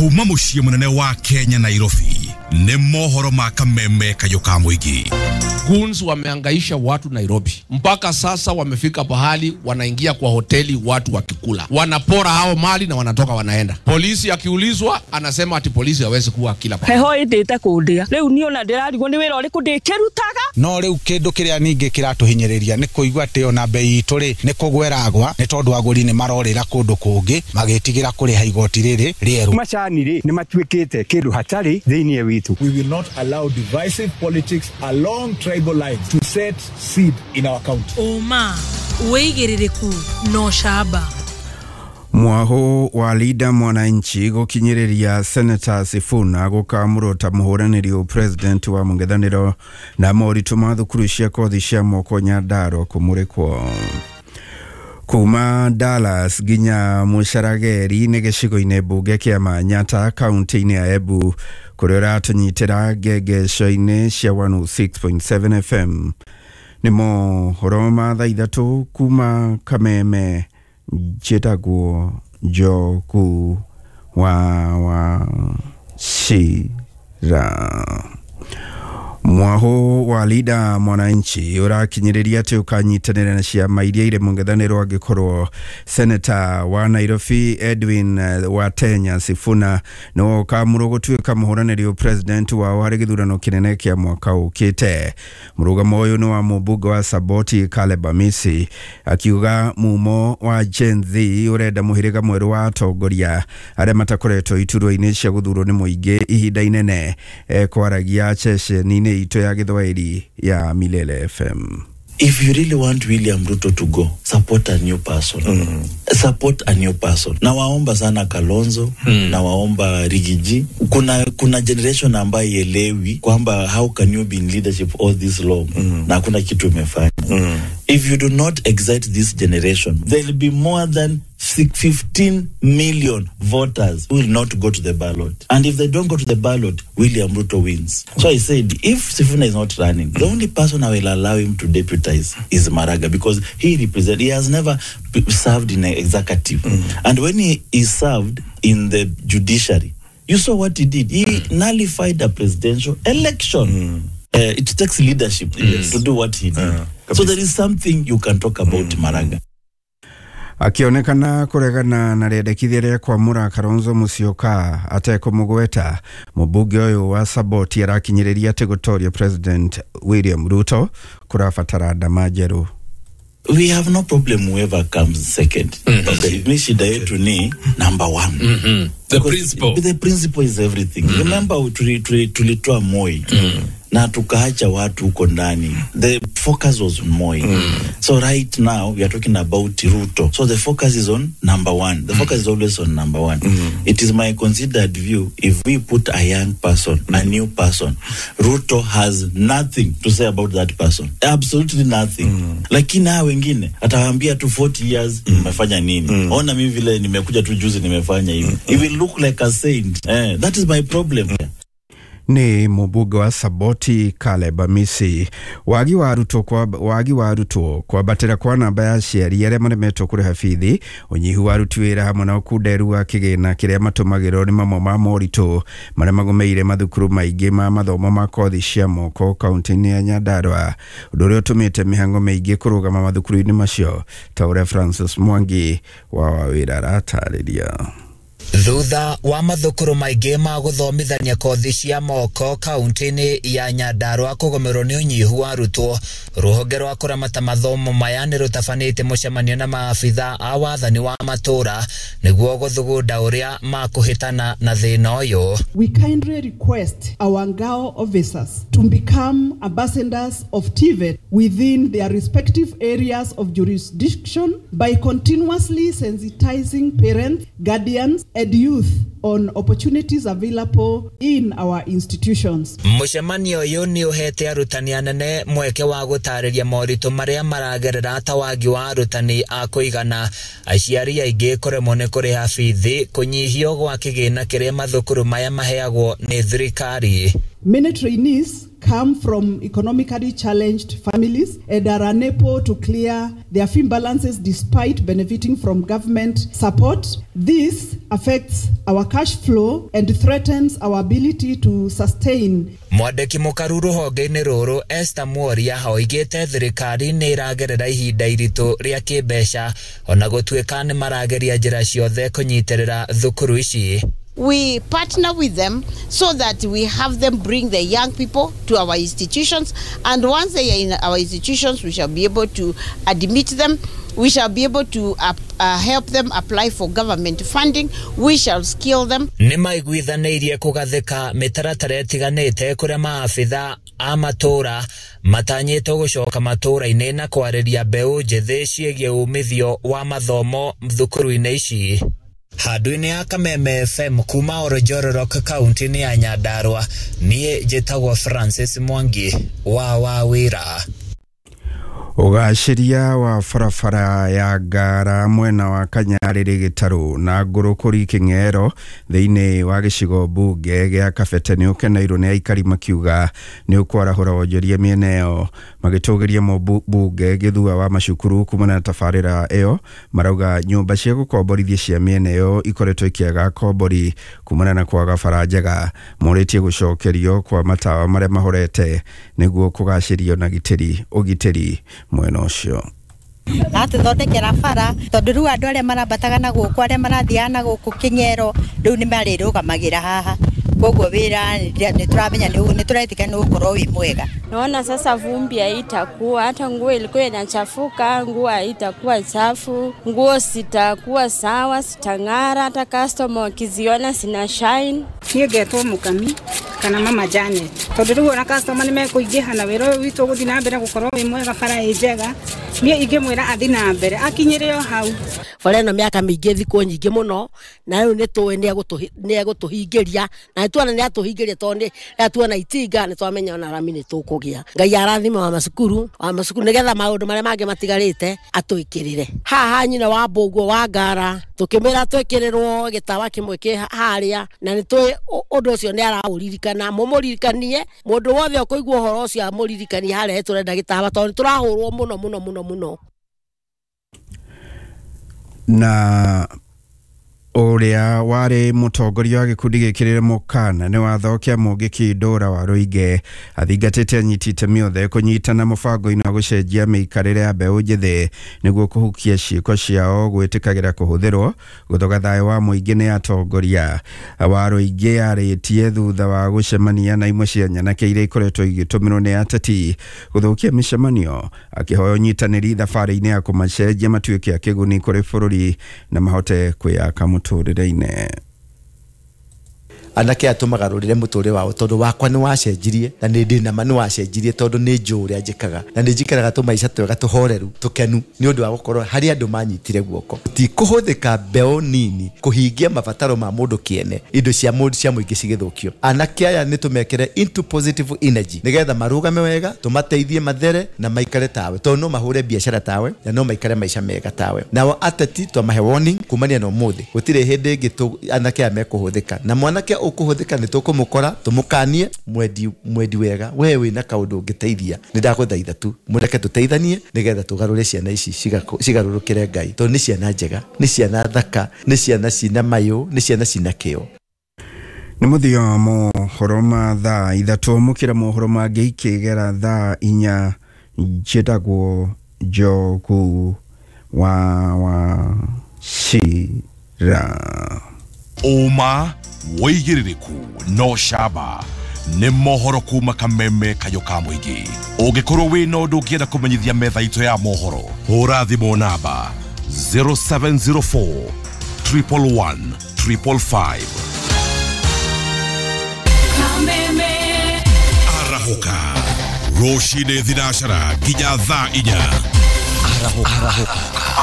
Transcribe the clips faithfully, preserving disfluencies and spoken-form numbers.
Kuma muciĩ mũnene wa Kenya Nairobi nĩ mohoro ma kameme kayũ ka mũingĩ. Goons wameangaisha watu Nairobi mpaka sasa wamefika pahali wanaingia kwa hoteli watu wakikula, wanapora hao mali na wanatoka wanaenda. Polisi akiulizwa anasema ati polisi hawezi kuwa kila pahali. Heho indite kundia riu ni ona ndirarigwo ni wira uriku ndikirutaga. No riu kindu kiria ningi kiratuhinyiriria ni kuigua ati ona bei itu ri ni kugweragwa ni tondu aguri ni marorira kundu kungi magitigira kuriha igoti riri rieru. Macani ri ni matuikite kindu hatari thiini witu. We will not allow divisive politics along tribal lines to set seed in our county. Uma wigiririku no shaba. Mwaho wa Linda Mwananchi gukinyiriria Senator Sifuna gukamurwo ta muhuraniri president wa mungethaniro na moritu ma thukuru cia kothi cia moko Nyandarua kumurikwo. Kuma Dallas ginya Mucarageri nĩ gĩcigo-inĩ mbunge kĩa Manyata kaunti-inĩ ya Embu kũrĩa ũratũnyitĩra ngengesho-inĩ cia one oh six point seven F M. Nĩ mohoro ma thaa ithatũ kuma Kameme. Njĩtagwo Njogu wa Wachira. Mwaho wa Linda Mwananchi ũrakinyĩrĩria atĩ ũkanyitanĩra na ciama iria irĩ mũng'ethanĩro angĩkorwo Senator wa Nairobi Edwin Watenya Sifuna nĩwe ũkamũrwo gũtuĩka mũhũranĩri president wao harĩ gĩthurano kĩnene kĩa mwaka ũkĩte. Mũrũgamo ũyũ nĩ wa mũmbunge wa Saboti Caleb Amisi akiuga mumo wa Gen Z ũrenda mũhĩrĩga mwerũ wa atongoria arĩa matakoretwo iturwa-inĩ cia gũthurwo nĩ mũingĩ ihinda inene kwaragia ceceni ito ya Gĩthwaĩri ya Milele F M. If you really want William Ruto to go, support a new person. Mm. Support a new person. Na waomba sana Kalonzo, mm. na waomba Rigiji. Kuna, kuna generation ambayo ielewi kwamba how can you be in leadership all this long? Mm. Na hakuna kitu umefanya. Mm. If you do not excite this generation, there will be more than fifteen million voters who will not go to the ballot. And if they don't go to the ballot, William Ruto wins. So I said, if Sifuna is not running, the only person I will allow him to deputize is Maraga, because he represents, he has never served in an executive. Mm. And when he is served in the judiciary, you saw what he did. He mm. nullified a presidential election. Mm. Uh, it takes leadership yes. to do what he did. Uh, so there is something you can talk about mm. Maraga. Akionekana kuregana na rĩendekithia rĩa kwamũra Kalonzo Musyoka atekũmũgweta, mũmbunge ũyũ wa Saboti arakinyĩrĩria atĩ gũtoria President William Ruto kũrabatara ndama njerũ. We have no problem whoever comes second. Mm-hmm. Okay. Mi shida yetu ni number one. Mm-hmm. The principle. The principle is everything. Mm-hmm. Remember tulitoa Moi. Mm-hmm. Na tukaacha watu huko ndani. The focus was on Moi. Mm. So right now we are talking about Ruto. So the focus is on number one. The focus mm. is always on number one. Mm. It is my considered view, if we put a young person, mm. a new person, Ruto has nothing to say about that person. Absolutely nothing. Mm. Lakini hao wengine atawaambia tu forty years nimefanya mm. nini. Mm. Ona mimi vile nimekuja tu juzi nimefanya hivi. Mm. It will look like a saint. Eh, that is my problem. Mm. Ni mũmbunge wa Saboti Caleb Amisi. Wagi wa arutwo kwa wagi wa arutwo kwambatĩra kwa namba ya aciari arĩa maremetwo kũrĩha bithi, ũnyihu wa aruti wĩra hamwe na ũkunderu wa kĩgĩna kĩrĩa matũmagĩrwo nĩ mamwe ma moritũ marĩa magũmĩire mathukuru maingĩ ma mathomo ma kothi cia moko kaunti-inĩ ya Nyandarua, ũndũ ũrĩa ũtũmĩte mĩhang'o mĩingĩ kũrũgama mathukuru-inĩ macio ta ũrĩa Francis Mwangi wa Wawĩra aratarĩria. Thutha wa mathukuru maingĩ ma gũthomithania kothi cia moko kaunti-inĩ ya Nyandarua kũgũmĩrwo nĩ ũnyihu wa arutwo, rũhonge rwa kũramata mathomo maya nĩ rũtabanĩte mũcemanio na maabitha a wathani wa matũra nĩguo gũthugunda ũrĩa makũhĩtana na thĩna ũyũ. We kindly request our Ngao officers to become ambassadors of T V E T within their respective areas of jurisdiction by continuously sensitizing parents, guardians and youth on opportunities available in our institutions. Mũcemanio ũyũ nĩ ũhete arutani anene mweke wa gũtarĩria moritũ marĩa maragerera ta wagi wa arutani a kũigana, aciari aingĩ kũremwo nĩ kũrĩha bithi, kũnyihio gwa kĩgĩna kĩrĩa mathukuru maya maheagwo nĩ thirikari. Many trainees come from economically challenged families and are unable to clear their fee balances despite benefiting from government support. This affects our cash flow and threatens our ability to sustain. Mwandĩki mũkaru rũhonge-inĩ rũrũ Esther Mworia oigĩte thirikari nĩ ĩragerera ihinda iritũ rĩa kĩmbeca ona gũtuĩka nĩ marageria njĩra ciothe kũnyitĩrĩra thukuru ici. We partner with them so that we have them bring the young people to our institutions, and once they are in our institutions, we shall be able to admit them. We shall be able to uh, uh, help them apply for government funding. We shall skill them. Nĩ maiguithanĩirie kũgathĩka mĩtaratara ĩtiganĩte kũrĩa maabitha a matũũra matanyĩtwo gũcoka matũũra-inĩ na kwarĩria mbeũ njĩthĩ ciĩgiĩ umithio wa mathomo thukuru-inĩ ici. Handũ-inĩ ya Kameme F M kuma Oronjororok kaunti-inĩ ya Nyandarua, niĩ njĩtagwo Francis Mwangi wa Wawĩra. Ũgacĩria wa barabara ya Ngara mwena wa Kanyarĩrĩ Gĩtarũ na Ngũrũkũri Kĩng'ero thĩinĩ wa gĩcigo mbunge gĩa Kabete nĩ ũkeneirwo nĩ aikari makiuga nĩ ũkwarahũra wonjoria mĩena ĩyo, magĩtũgĩria mũmbunge Gĩthua wa macukuru kumana na tabarĩra ĩyo. Marauga nyũmba cia gũkomborithia cia mĩena ĩyo ikoretwo ikĩaga kombori kumana na kwaga bara njega. Morĩtie gũcokerio kwa matawa marĩa mahorete nĩguo kũgacĩrio na gitĩri ũgitĩri mwena ũcio. Atuthondekera bara tondu riu andu aria marambataga na guku aria marathiaga na guku King'ero riu ni marirugamagira haha, koguo wira ni turamenya ni turetika ni ukorwo wi mwega. Naona sasa vumbi haitakuwa, hata nguo ilikuwa inachafuka, nguo haitakuwa chafu, nguo sitakuwa sawa, sitang'ara, hata customer wakiziona sina shine. Niĩ ngetwo Mukami kana Mama Janet tondu riu ona customer ni mekuingiha na wira uyu witu guthi na mbere gukorwo wi mwega, bara ĩ njega. Niĩ ingĩmwĩra athi na mbere akinyĩre o hau. Bara ĩno mĩaka mĩingĩ thikũ nyingĩ mũno na rĩu nĩ tũĩ nĩ egũtũhingĩria na nĩtuona nĩ atũhingĩria tondũ nĩ tuona itinga nĩ twamenya ona rami nĩ tũkũgĩa. Ngai arathime wa macukuru wa macukuru nĩgetha maũndũ marĩa mangĩ matigarĩte atwĩkĩrĩre. Haha nyina wa Mbũguo wa Ngara tũkĩmwĩra twĩkĩrĩrwo gĩtawa kĩmwe kĩ harĩa na nĩ tũĩ ũndũ ũcio nĩ araũririkana, mũmũririkanie mũndũ wothe ũkũigua ũhoro ũcio amũririkanie harĩa tũrenda gĩtawa tondũ nĩ tũrahũrwo mũno mũno mũno mũno. Na ũrĩa warĩ mũtongoria wa gĩkundi gĩkĩrĩre mũkana nĩ watho kĩa Mũngĩki Ndũra wa Rũige athingatĩte anyiti itemi othe kũnyitana mũbango-inĩ wa gũcenjia mĩikarĩre ya mbeũ njĩthĩ nĩguo kũhukia ciĩko ciao gwĩtĩkagĩra kũhũthĩrwo gũthoga thayũ wa mũingĩ nĩ atongoria wa Rũige arĩtie thutha wa gũcemania na imwe cia nyanake iria ikoretwo igĩtũmĩrwo nĩ ateti gũthũkia mĩcemanio, akĩhoya ũnyitanĩri thabarĩ-inĩ ya kũmacenjia matuĩke a kĩguni kũrĩ bũrũri na mahote kwĩyaka mũtũrĩre-inĩ. Anake aya tũmagarũrĩre mũtũrĩre wao tondũ wakwa nĩ wacenjirie na nĩ ndĩ nama nĩ wacenjirie tondũ nĩ njũĩ ũrĩa njĩkaga na nĩ njikaraga tũmaica twega tũhoreru tũkenu nĩ ũndũ wa gũkorwo harĩ andũ manyitire guoko. Ti kũhũthĩka mbeũ nini kũhingia mabataro ma mũndũ kĩene, indo cia mũndũ cia mũingĩ cigĩthũkio. Anake aya nĩ tũmekĩre into positive energy nĩgetha marũgame wega, tũmateithie mathere na maikare tawe tondũ no mahũre biacara tawe na no maikare maica mega tawe. Nao ateti twamahe warning kumania na ũmũthĩ gũtirĩ hĩndĩ ĩngĩ anake aya mekũhũthĩka na mwanake ũkũhũthĩka nĩ tũkũmũkora tũmũkanie mwendi mwendi wega we wĩna kaũndũ ũngĩteithia nĩ ndagũthaitha tu mũreke tũteithanie nĩgetha tũgarũre ciana ici cigarũrũkĩre Ngai tondũ nĩ ciana njega, nĩ ciana thaka, nĩ ciana cina mayũ, nĩ ciana cina kĩo. Nĩ mũthia wa mohoro ma thaa ithatũ mũkĩra mohoro mangĩ ikĩgera thaa inya. Njĩtagwo Njogu wa Wachira. Ũma wĩigĩrĩrĩku no camba nĩ mohoro kuma Kameme kayũ ka mũingĩ. Ũngĩkorwo wĩna ũndũ ũngĩenda kũmenyithia metha itũ ya mohoro, hũra thimũ namba zero seven zero four triple one triple five. Kameme arahũka rũcinĩ thinacara nginya thaa inya. Arahũka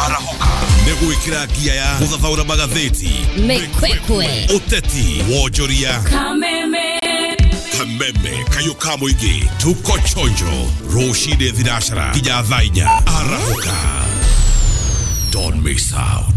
arahũka nĩ gwĩkĩra ngia ya gũthathaũra magathĩti, mĩkwekwe, ũteti, wonjoria. Kameme Kameme kayũ ka mũingĩ, tuko chonjo rũcinĩ thinacara nginya thaa inya. Arahũka, don't miss out.